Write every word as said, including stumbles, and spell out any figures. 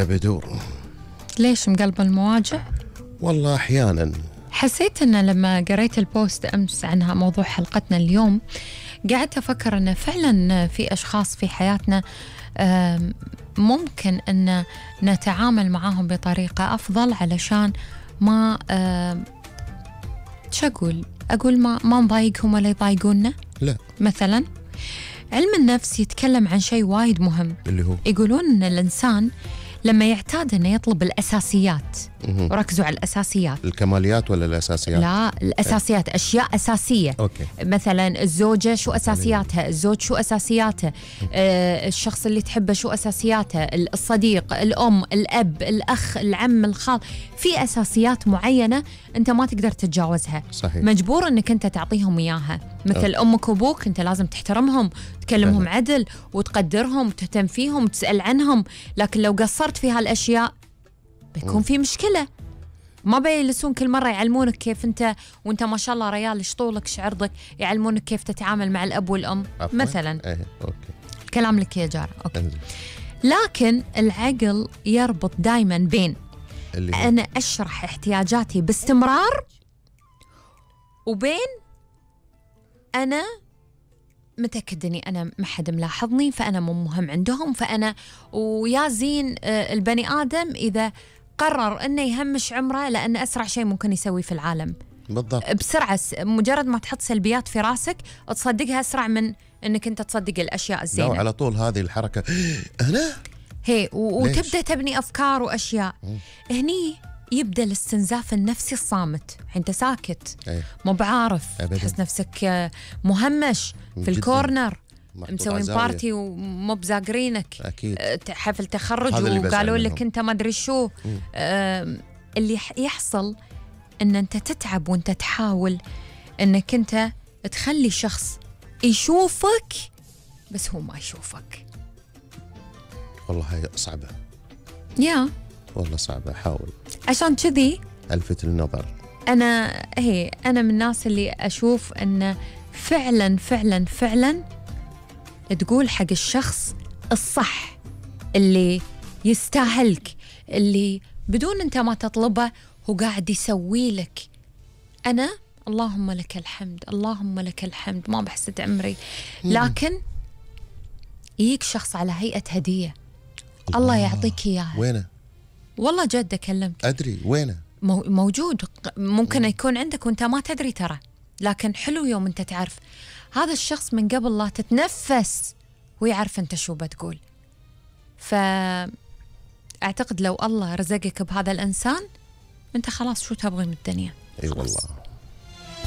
بدو. ليش مقلب المواجع؟ والله أحيانا حسيت أن لما قريت البوست أمس عنها موضوع حلقتنا اليوم قعدت أفكر أن فعلا في أشخاص في حياتنا ممكن أن نتعامل معاهم بطريقة أفضل علشان ما شو أقول أقول ما ما نضايقهم ولا يضايقونا. لا مثلا علم النفس يتكلم عن شيء وايد مهم اللي هو يقولون أن الإنسان لما يعتاد أنه يطلب الأساسيات، مه. وركزوا على الأساسيات، الكماليات ولا الأساسيات؟ لا الأساسيات، أشياء أساسية. أوكي. مثلا الزوجة شو أساسياتها، الزوج شو أساسياته، آه الشخص اللي تحبه شو أساسياته، الصديق، الأم، الأب، الأخ، العم، الخال، في أساسيات معينة أنت ما تقدر تتجاوزها. صحيح. مجبور أنك أنت تعطيهم إياها. مثل أوكي. أمك وأبوك أنت لازم تحترمهم، تكلمهم فهم. عدل وتقدرهم وتهتم فيهم وتسأل عنهم. لكن لو قصرت في هالأشياء بيكون في مشكلة. ما بيجلسون كل مرة يعلمونك كيف أنت وأنت ما شاء الله ريال إيش طولك إيش عرضك، يعلمونك كيف تتعامل مع الأب والأم. عفواً. مثلا ايه اوكي كلام لك يا جارة. أوكي. انزل. لكن العقل يربط دايما بين اللي هو. أنا أشرح احتياجاتي باستمرار وبين أنا متأكد أني أنا ما حد ملاحظني فأنا مو مهم عندهم فأنا ويا زين. البني آدم إذا قرر أنه يهمش عمره لأن أسرع شيء ممكن يسوي في العالم بالضبط بسرعة. مجرد ما تحط سلبيات في راسك تصدقها أسرع من أنك أنت تصدق الأشياء الزينة. لا على طول هذه الحركة أنا هي وتبدأ تبني أفكار وأشياء. مم. هني يبدأ الاستنزاف النفسي الصامت. أنت ساكت أيه. مو بعارف أبداً. تحس نفسك مهمش في جداً. الكورنر محطوط مسوين عزاوية. بارتي ومو بزاقرينك. أكيد. حفل تخرج هذا اللي وقالوا بزعل لك منهم. أنت ما أدري شو. آم، اللي يحصل أن أنت تتعب وأنت تحاول أنك أنت تخلي شخص يشوفك بس هو ما يشوفك. والله هي صعبة. يا والله صعبة. حاول عشان كذي ألفت النظر. أنا هي أنا من الناس اللي أشوف أن فعلا فعلا فعلا تقول حق الشخص الصح اللي يستاهلك، اللي بدون أنت ما تطلبه هو قاعد يسوي لك. أنا اللهم لك الحمد اللهم لك الحمد ما بحسد عمري، لكن يجيك شخص على هيئة هدية الله, الله يعطيك إياها. وينه؟ والله جد أكلمك أدري وينه موجود. ممكن يكون عندك وانت ما تدري ترى، لكن حلو يوم انت تعرف هذا الشخص من قبل لا تتنفس ويعرف انت شو بتقول. فأعتقد لو الله رزقك بهذا الإنسان انت خلاص شو تبغي من الدنيا. اي والله.